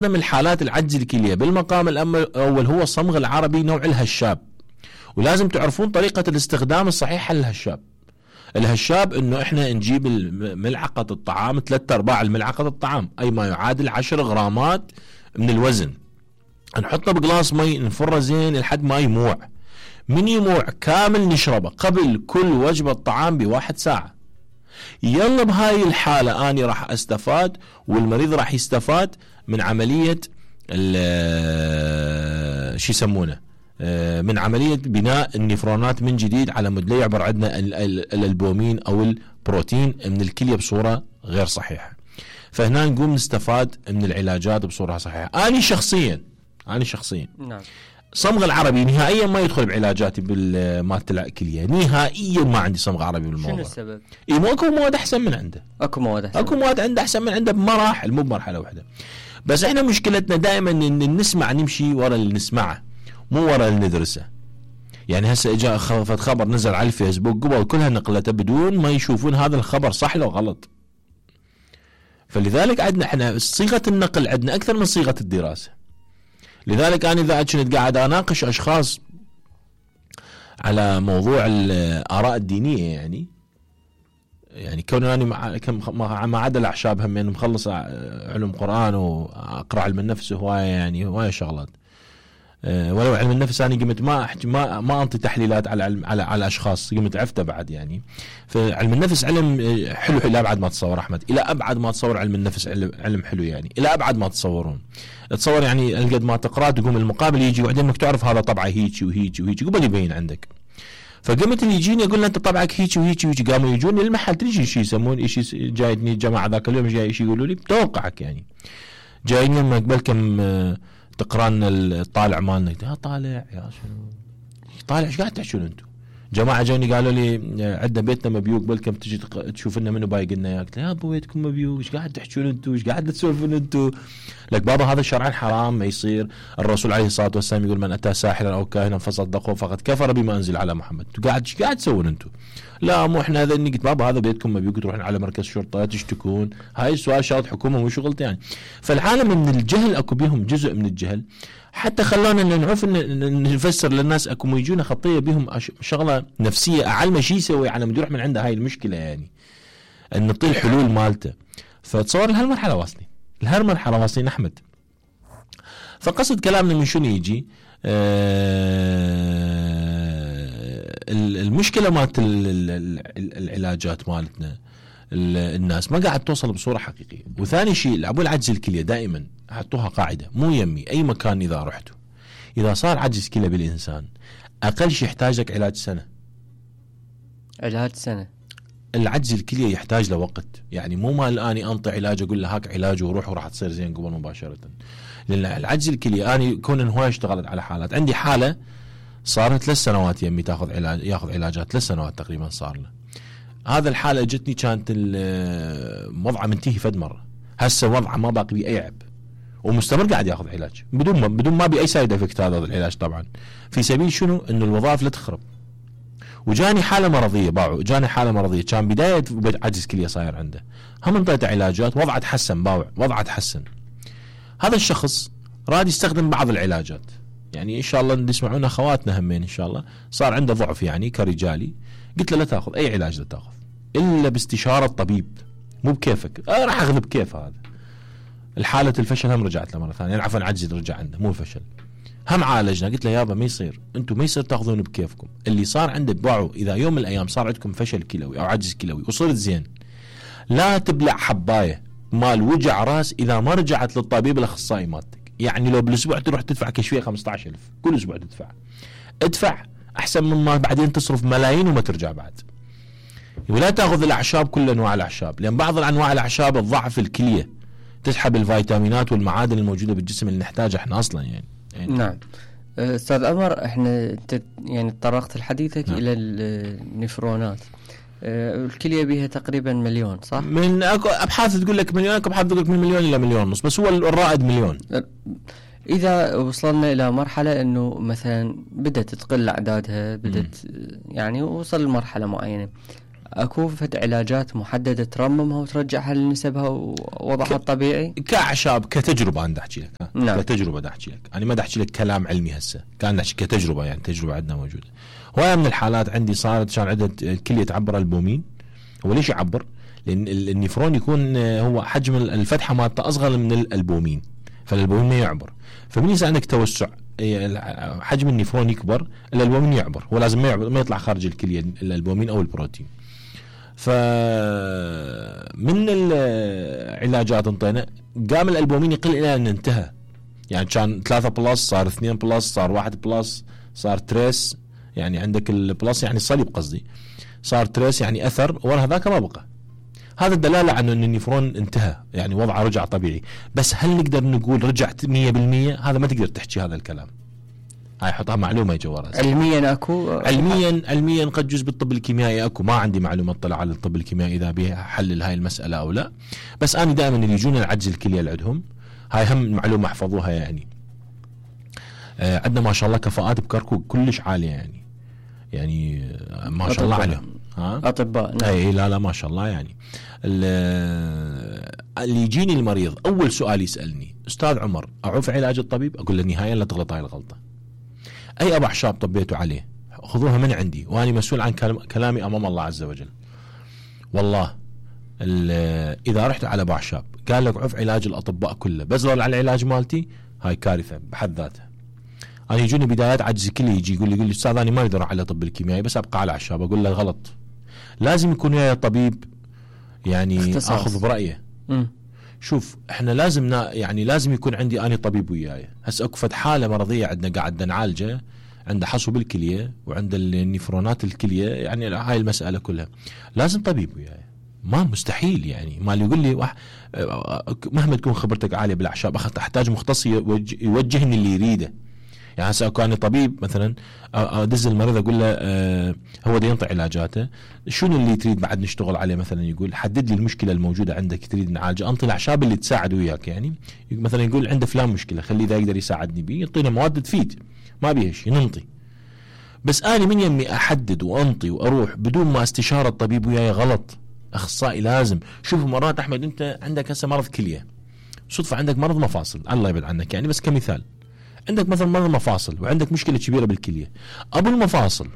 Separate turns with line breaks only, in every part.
من الحالات العجز الكلية بالمقام الأول هو الصمغ العربي نوع الهشاب، ولازم تعرفون طريقة الاستخدام الصحيحة للهشاب. الهشاب انه احنا نجيب ملعقة الطعام 3/4 الملعقة الطعام، اي ما يعادل 10 غرامات من الوزن، نحطه بقلاص مي نفره زين لحد ما يموع. من يموع كامل نشربه قبل كل وجبة طعام ب1 ساعة. يلا بهاي الحالة اني راح استفاد والمريض راح يستفاد من عملية شو يسمونه من عملية بناء النفرونات من جديد على مود لا يعبر عندنا الالبومين او البروتين من الكلية بصورة غير صحيحة. فهنا نقوم نستفاد من العلاجات بصورة صحيحة. أنا شخصيا
نعم.
صمغ العربي نهائيا ما يدخل بعلاجاتي بالمادة الكلية، نهائيا ما عندي صمغ عربي بالموضوع.
شنو السبب؟
اكو مواد احسن من عنده،
اكو مواد
عنده احسن من عنده بمراحل مو بمرحلة واحدة. بس احنا مشكلتنا دائما ان نسمع نمشي ورا اللي نسمعه مو ورا اللي ندرسه. يعني هسه اجا خبر نزل على الفيسبوك قبل كلها نقلته بدون ما يشوفون هذا الخبر صح لو غلط. فلذلك عندنا احنا صيغة النقل عندنا اكثر من صيغة الدراسة. لذلك انا اذا كنت قاعد اناقش اشخاص على موضوع الاراء الدينية يعني كون اني ما عدا الاعشاب هم يعني مخلص علم قرآن واقرا علم النفس هواية يعني هواية شغلات. ولو علم النفس انا قمت ما انطي تحليلات على اشخاص، قمت عفته بعد يعني. فعلم النفس علم حلو الى ابعد ما تصور احمد، الى ابعد ما تصور علم النفس علم حلو يعني، الى ابعد ما تصورون. تصور يعني قد ما تقرا تقوم المقابل يجي وبعدين انك تعرف هذا طبعه هيك وهيك وهيك قبل يبين عندك. فقمت اللي يجيني يقول له انت طبعك هيك وهيك وهيك، قاموا يجوني المحل تجي شيء يسمون شيء جايتني الجماعه ذاك اليوم جاي شيء يقولوا لي بتوقعك يعني جايني لما قبل كم تقرأنا الطالع مالنا. طالع يا شنو طالع ايش قاعد تحكون انتم؟ جماعه جوني قالوا لي عندنا بيتنا مبيوق بلكم تجي تشوف لنا منو بايق لنا اياك. يا ابو بيتكم مبيوق ايش قاعد تحكون انتم؟ ايش قاعد تسولفون انتم؟ لك بابا هذا شرعا حرام ما يصير. الرسول عليه الصلاه والسلام يقول من اتى ساحرا او كاهنا فصدقه فقد كفر بما انزل على محمد. انتم ايش قاعد تسوون انتم؟ لا مو احنا هذا. قلت بابا هذا بيتكم مبيوق تروحون على مركز شرطه تشتكون. هاي السؤال شغله حكومه مو شغلتي يعني. فالعالم من الجهل اكو بيهم جزء من الجهل حتى خلونا نعرف نفسر للناس اكو يجونا خطيه بهم شغله نفسيه اعلم شيء يسوي على مدير من عنده هاي المشكله يعني ان نعطيه الحلول مالته. فتصور لهالمرحله واصلين احمد. فقصد كلامنا من شنو يجي المشكله مالت العلاجات مالتنا الناس ما قاعد توصل بصوره حقيقيه. وثاني شيء العبوا العجز الكليه دائما حطوها قاعده مو يمي اي مكان اذا رحتوا اذا صار عجز كلى بالانسان اقل شيء يحتاج لك علاج سنه. العجز الكليه يحتاج له وقت يعني مو مال اني انطي علاج اقول له هاك علاج وروح وراح تصير زين قبل مباشره. لان العجز الكليه اني كون هواي اشتغلت على حالات. عندي حاله صارت 3 سنوات يمي ياخذ علاجات 3 سنوات تقريبا صار له. هذا الحالة جتني كانت وضعه منتهي فد مرة. هسه وضعه ما باقي بيه أي عب ومستمر قاعد ياخذ علاج بدون ما بي أي سايد افكت هذا العلاج طبعا في سبيل شنو انه الوظائف لا تخرب. وجاني حالة مرضية كان بداية عجز كلية صاير عنده هم انطيته علاجات وضعه تحسن وضعه تحسن. هذا الشخص راد يستخدم بعض العلاجات يعني ان شاء الله نسمعونا اخواتنا همين ان شاء الله صار عنده ضعف يعني كرجالي. قلت له لا تاخذ اي علاج لا تاخذ الا باستشاره طبيب مو بكيفك. راح اخذ بكيف هذا. الحاله الفشل هم رجعت له مره ثانيه يعني عفوا عجز رجع عنده مو الفشل هم عالجنا. قلت له يابا ما يصير انتم ما يصير تاخذون بكيفكم. اللي صار عنده باعوا اذا يوم من الايام صار عندكم فشل كلوي او عجز كلوي وصرت زين لا تبلع حبايه مال وجع راس اذا ما رجعت للطبيب الاخصائي مالتك. يعني لو بالاسبوع تروح تدفع كشفيه 15,000 كل اسبوع ادفع احسن مما بعدين تصرف ملايين وما ترجع بعد. ولا تاخذ الاعشاب كل انواع الاعشاب لان بعض الانواع الاعشاب تضعف الكليه تسحب الفيتامينات والمعادن الموجوده بالجسم اللي نحتاجها احنا اصلا يعني.
نعم استاذ عمر احنا يعني تطرقت لحديثك الى النفرونات. الكليه بها تقريبا 1,000,000 صح؟
من اكو ابحاث تقول لك مليون اكو ابحاث تقول لك من 1,000,000 الى 1,500,000 بس هو الرائد 1,000,000.
إذا وصلنا إلى مرحلة أنه مثلا بدأت تقل أعدادها بدأت يعني وصل لمرحلة معينة اكو فد علاجات محدده ترممها وترجعها لنسبها ووضعها الطبيعي
كاعشاب كتجربه انا احكي لك
نعم.
كتجربه احكي لك انا ما احكي لك كلام علمي هسه كان احكي كتجربه يعني تجربه عندنا موجوده. هوايه من الحالات عندي صارت كان عندها الكليه تعبر البومين. هو ليش يعبر؟ لان النفرون يكون هو حجم الفتحه مالته اصغر من الالبومين فالالبومين ما يعبر فمن يصير عندك توسع حجم النفرون يكبر الالبومين يعبر هو لازم ما يعبر ما يطلع خارج الكليه الالبومين او البروتين. فمن العلاجات انطينا قام الالبومين يقل الى ان انتهى يعني كان 3 بلس صار 2 بلس صار 1 بلس صار تريس يعني عندك البلس يعني صليب قصدي صار تريس يعني اثر ورا هذاك ما بقى. هذا الدلاله على ان النفرون انتهى يعني وضعه رجع طبيعي. بس هل نقدر نقول رجعت 100%؟ هذا ما تقدر تحكي هذا الكلام. هاي حطها معلومه جوا
علميا اكو
علميا قد جزء بالطب الكيميائي اكو ما عندي معلومه اطلع على الطب الكيميائي اذا به حلل هاي المساله او لا. بس انا دائما اللي يجونا العجز الكليه اللي عندهم هاي هم معلومه احفظوها يعني. عندنا ما شاء الله كفاءات بكركوك كلش عاليه يعني ما شاء الله عليهم
اطباء
نعم. اي لا ما شاء الله يعني. اللي يجيني المريض اول سؤال يسالني استاذ عمر اعوف علاج الطبيب؟ اقول له نهائيا لا تغلط هاي الغلطه. اي ابو اعشاب طبيتوا عليه خذوها من عندي وانا مسؤول عن كلامي امام الله عز وجل. والله اذا رحت على ابو اعشاب قال لك عوف علاج الاطباء كله بزرل على العلاج مالتي هاي كارثه بحد ذاتها. انا يجوني بدايات عجز كلي يجي يقول لي استاذ انا ما اقدر على طب الكيميائي بس ابقى على اعشاب. اقول له غلط لازم يكون وياي طبيب يعني اخذ برايه. شوف احنا لازم يعني لازم يكون عندي اني طبيب وياي. هسه اكو فد حاله مرضيه عندنا قاعد نعالجه عنده حصو بالكليه وعنده النفرونات الكليه يعني هاي المساله كلها لازم طبيب وياي ما مستحيل يعني. ما اللي يقول لي مهما تكون خبرتك عاليه بالاعشاب احتاج مختص يوجهني اللي يريده. يعني هسه اكو اني طبيب مثلا ادز المريض اقول له هو دا ينطي علاجاته شنو اللي تريد بعد نشتغل عليه مثلا يقول حدد لي المشكله الموجوده عندك تريد نعالجها انطي الاعشاب اللي تساعد وياك يعني. مثلا يقول عنده فلان مشكله خليه اذا يقدر يساعدني بيه يعطينا مواد تفيد ما بيها شيء ننطي. بس اني من يمي احدد وانطي واروح بدون ما استشاره الطبيب وياي غلط. اخصائي لازم. شوف مرات احمد انت عندك هسه مرض كليه صدفه عندك مرض مفاصل الله يبعد عنك يعني بس كمثال عندك مثلا مرض مفاصل وعندك مشكله كبيره بالكليه ابو المفاصل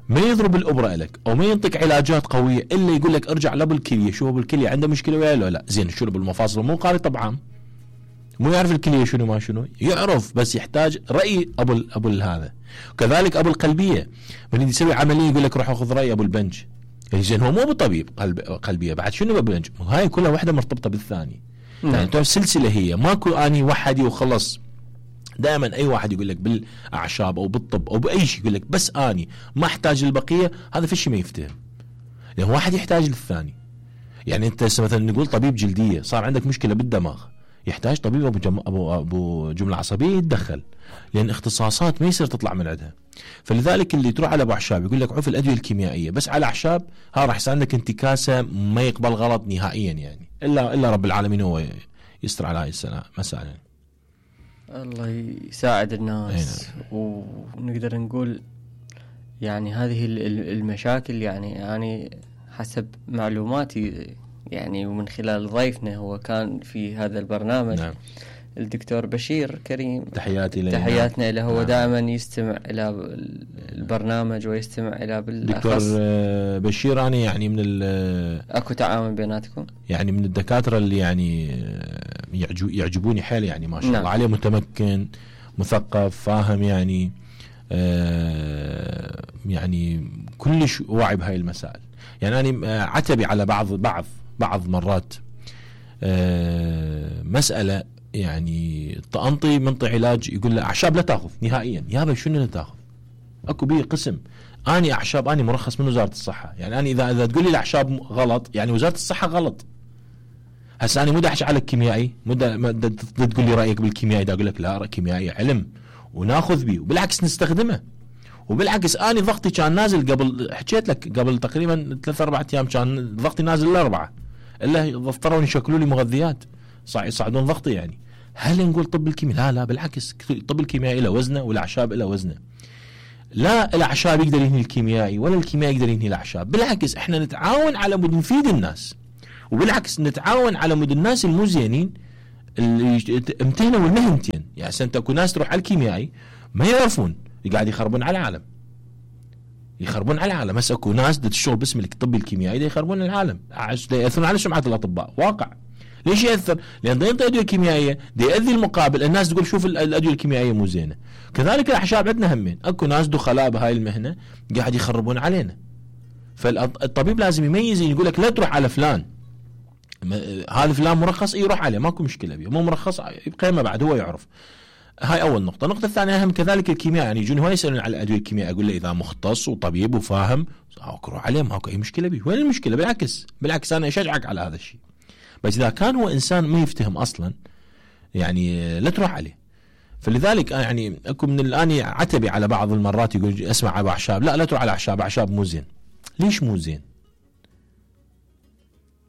ما يضرب الابره لك او ما ينطيك علاجات قويه الا يقول لك ارجع لابو الكليه شو ابو الكليه عنده مشكله وياه لا زين شو ابو المفاصل مو قاري طبعا مو يعرف الكليه شنو ما شنو يعرف بس يحتاج راي ابو هذا. كذلك ابو القلبيه من يسوي عمليه يقول لك روح اخذ راي ابو البنج زين هو مو ابو طبيب قلبيه بعد شنو ابو البنج هاي كلها واحده مرتبطه بالثاني يعني تعرف سلسله هي ماكو اني وحدي وخلص. دائما اي واحد يقول لك بالاعشاب او بالطب او باي شيء يقول لك بس اني ما احتاج للبقيه هذا في شيء ما يفتهم لان واحد يحتاج للثاني. يعني انت مثلا نقول طبيب جلديه صار عندك مشكله بالدماغ يحتاج طبيب ابو جمله عصبيه يتدخل لان اختصاصات ما يصير تطلع من عندها. فلذلك اللي تروح على ابو اعشاب يقول لك عوف الادويه الكيميائيه بس على اعشاب ها راح يصير عندك انتكاسه ما يقبل غلط نهائيا يعني الا رب العالمين هو يستر على هاي المساله يعني.
الله يساعد الناس ونقدر نقول يعني هذه المشاكل يعني حسب معلوماتي يعني ومن خلال ضيفنا هو كان في هذا البرنامج نعم. الدكتور بشير كريم تحياتنا له. هو دائما يستمع إلى البرنامج ويستمع إلى
دكتور بشير أنا يعني من
أكو تعاون بيناتكم
يعني من الدكاترة اللي يعني يعجبوني حيل يعني ما شاء الله عليه متمكن مثقف فاهم يعني يعني كلش واعي بهاي المسائل. يعني أنا عتبي على بعض مرات مسألة يعني طأنطي منطي علاج يقول له أعشاب لا تأخذ نهائيا. يابا شنو لا تأخذ أكو بيه قسم أني أعشاب أني مرخص من وزارة الصحة. يعني أنا إذا تقول لي الأعشاب غلط يعني وزارة الصحة غلط. هسه أنا مو أحكي على الكيميائي مو تقول لي رأيك بالكيميائي دا أقول لك لا كيميائي علم وناخذ بيه وبالعكس نستخدمه. وبالعكس أنا ضغطي كان نازل قبل حكيت لك قبل تقريبا 3-4 أيام كان ضغطي نازل ل4 إلا اضطروا يشكلوا لي مغذيات يصعدون ضغطي. يعني هل نقول طب الكيمياء لا بالعكس طب الكيميائي له وزنه والأعشاب له وزنه. لا الاعشاب يقدر ينهي الكيميائي ولا الكيميائي يقدر ينهي الاعشاب، بالعكس احنا نتعاون على مود نفيد الناس، وبالعكس نتعاون على مود الناس المو زينين اللي امتهنوا المهنتين. يعني انت اكو ناس تروح على الكيميائي ما يعرفون قاعد يخربون على العالم، يخربون على العالم. هسه اكو ناس تشتغل باسم الطب الكيميائي يخربون العالم، ياثرون على سمعه الاطباء. واقع. ليش ياثر؟ لان ينطي ادويه كيميائيه ياذي المقابل، الناس تقول شوف الادويه الكيميائيه مو زينه. كذلك الاعشاب عندنا همين، اكو ناس دخلاء بهاي المهنه قاعد يخربون علينا. فالطبيب لازم يميز، يقول لك لا تروح على فلان، هذا فلان مرخص يروح عليه ماكو مشكله بيه، مو مرخص يبقى ما بعد هو يعرف. هاي اول نقطه. النقطه الثانيه اهم كذلك الكيمياء، يعني يجون هواي يسالون على الادويه الكيميائيه، اقول له اذا مختص وطبيب وفاهم روح عليه ماكو اي مشكله بيه. وين المشكله؟ بالعكس انا اشجعك على هذا الشيء. بس اذا كان هو انسان ما يفتهم اصلا يعني لا تروح عليه. فلذلك يعني اكو من الان عتبي على بعض المرات يقول اسمع على اعشاب، لا تروح على اعشاب مو زين. ليش مو زين؟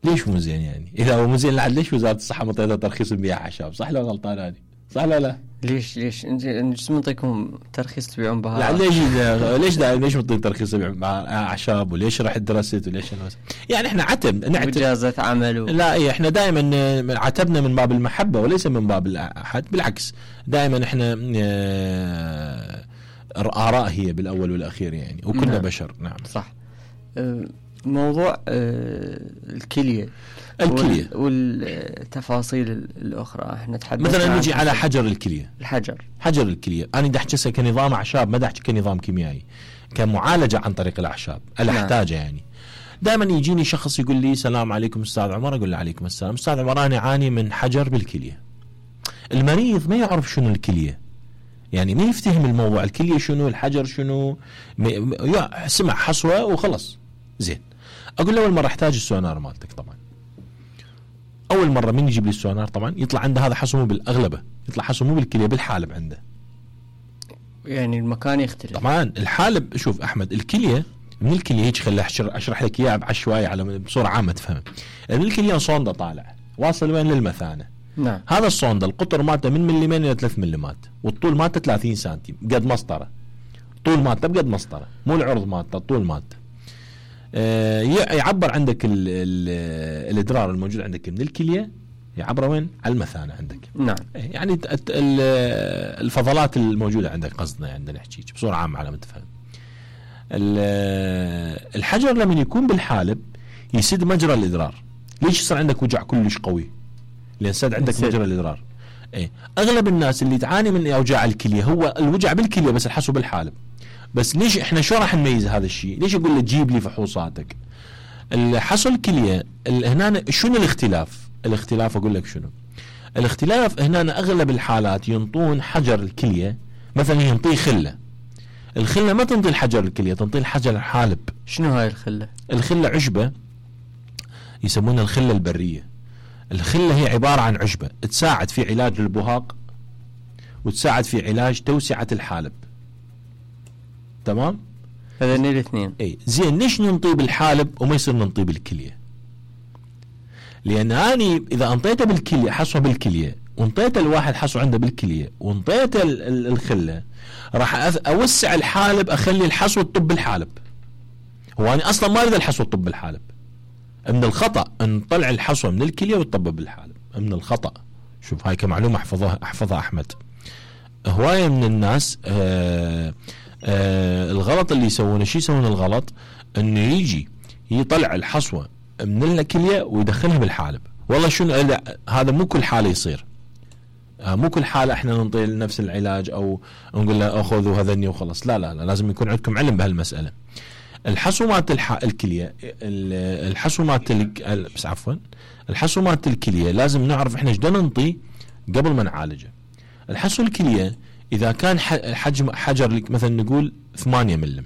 ليش مو زين؟ يعني اذا هو مو زين ليش وزاره الصحه مطيته ترخيص بيع اعشاب؟ صح ولا غلطان هذه؟ صح ولا لا؟
ليش انت منطيكم ترخيص تبيعون بها؟
لا ليش منطين ترخيص تبيعون اعشاب؟ وليش رحت درست؟ وليش يعني احنا نعتب
اجازه عمل
لا احنا دائما عتبنا من باب المحبه وليس من باب الاحد. بالعكس دائما احنا اراء هي بالاول والاخير يعني، وكلنا
نعم.
بشر. نعم
صح. موضوع الكليه والتفاصيل الاخرى احنا تحدثنا
مثلا نجي على حجر الكليه. حجر الكليه انا بدي احكي كنظام اعشاب، ما بدي احكي كنظام كيميائي، كمعالجه عن طريق الاعشاب احتاجه. يعني دائما يجيني شخص يقول لي السلام عليكم استاذ عمر، اقول له عليكم السلام. استاذ عمر انا اعاني من حجر بالكليه. المريض ما يعرف شنو الكليه، يعني ما يفتهم الموضوع، الكليه شنو، الحجر شنو، سمع حصوه وخلص. زين اقول له اول مره احتاج السونار مالتك. طبعا اول مره من يجيب لي السونار طبعا يطلع عنده هذا حصو مو بالاغلبه، يطلع حصو مو بالكليه، بالحالب عنده.
يعني المكان يختلف
طبعا. الحالب شوف احمد، الكليه من الكليه هيك خلي اشرح لك اياها بعشوائيه على بصوره عامه تفهم. من الكليه صونده طالع واصل وين؟ للمثانه.
نعم.
هذا الصونده القطر مالته من ملمين الى 3 ملمات، والطول مالته 30 سنتيم قد مسطره. طول مالته بقد مسطره، مو العرض مالته، الطول مالته. يعبر عندك الادرار الموجود عندك من الكليه، يعبر وين؟ على المثانه عندك.
نعم.
يعني الفضلات الموجوده عندك قصدنا، يعني نحكي بصوره عامه على ما تفهم. الحجر لما يكون بالحالب يسد مجرى الادرار. ليش يصير عندك وجع كلش قوي؟ لان سد عندك مجرى الادرار. اغلب الناس اللي تعاني من اوجاع الكليه هو الوجع بالكليه بس الحصو بالحالب. بس ليش احنا شو راح نميز هذا الشيء؟ ليش اقول له جيب لي فحوصاتك؟ الحصو الكليه هنا شنو الاختلاف اقول لك شنو الاختلاف. هنا اغلب الحالات ينطون حجر الكليه، مثلا ينطيه خله. الخله ما تنطي الحجر الكليه، تنطي الحجر الحالب.
شنو هاي الخله
عشبه يسمونها الخله البريه. الخله هي عباره عن عشبه تساعد في علاج البهاق وتساعد في علاج توسعه الحالب. تمام؟
هذين الاثنين.
زين ليش ننطي بالحالب وما يصير ننطي بالكليه؟ لان اني اذا انطيته بالكليه حصوه بالكليه، وانطيته الواحد حصو عنده بالكليه، وانطيته الخله، راح اوسع الحالب، اخلي الحصوه تطب بالحالب. هو انا اصلا ما اريد الحصوه تطب بالحالب. من الخطا ان نطلع الحصوه من الكليه وتطب بالحالب، من الخطا. شوف هاي كمعلومه احفظها احمد. هوايه من الناس الغلط اللي يسوونه، شو يسوون الغلط؟ انه يجي يطلع الحصوه من الكليه ويدخلها بالحالب. والله شنو هذا مو كل حاله يصير. مو كل حاله احنا ننطي نفس العلاج او نقول له خذوا هذني وخلص. لا لازم يكون عندكم علم بهالمساله. الحصو مالت الكليه، الحصو مالت بس عفوا الحصو مالت الكليه لازم نعرف احنا ايش بدنا ننطي قبل ما نعالجه. الحصو الكليه اذا كان حجم حجر مثلا نقول 8 ملم،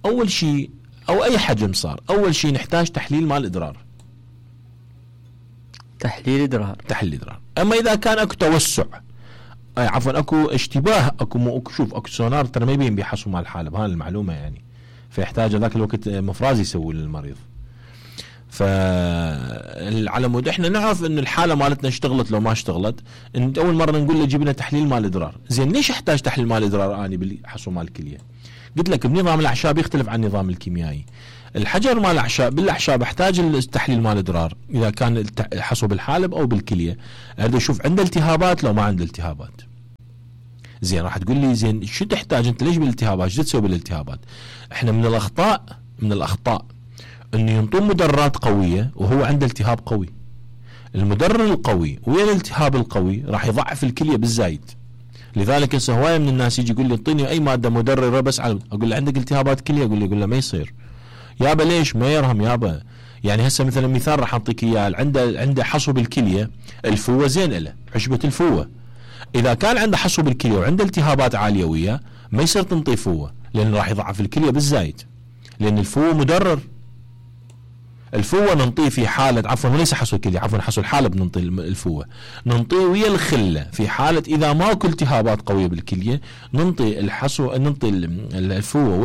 اول شيء او اي حجم صار، اول شيء نحتاج تحليل مال ادرار.
تحليل ادرار.
اما اذا كان اكو توسع، عفوا اكو اشتباه، اكو شوف اكو سونار ترى ما يبين بيحصوا مال الحالب، هاي المعلومه يعني، فيحتاج ذاك الوقت مفراز يسوي للمريض. فعلى مود احنا نعرف ان الحاله مالتنا اشتغلت لو ما اشتغلت، ان اول مره نقول له جبنا تحليل مال ادرار. زين ليش احتاج تحليل مال ادرار اني بالحصو مال الكليه؟ قلت لك بنظام الاعشاب يختلف عن النظام الكيميائي. الحجر مال الاعشاب بالاعشاب احتاج التحليل مال ادرار اذا كان الحصو بالحالب او بالكليه، اريد اشوف عنده التهابات لو ما عنده التهابات. زين راح تقول لي زين شو تحتاج انت ليش بالالتهابات؟ شو تسوي بالالتهابات؟ احنا من الاخطاء انه ينطون مدرات قويه وهو عنده التهاب قوي. المدرر القوي ويا الالتهاب القوي راح يضعف الكليه بالزايد. لذلك هسه هوايه من الناس يجي يقول لي اعطيني اي ماده مدرره بس اقول له عندك التهابات كليه؟ يقول له ما يصير يابا. ليش؟ ما يرهم يابا. يعني هسه مثلا مثال راح اعطيك اياه، عنده حصو بالكليه، الفوه زين له عشبه الفوه. اذا كان عنده حصو بالكليه وعنده التهابات عاليه وياه ما يصير تنطي فوه، لان راح يضعف الكليه بالزايد، لان الفوه مدرر. الفوه ننطيه في حاله، عفوا وليس حصو الكليه، عفوا حصو الحالب ننطي الفوه، ننطيه ويا الخله في حاله اذا ماكو التهابات قويه بالكليه، ننطي الفوه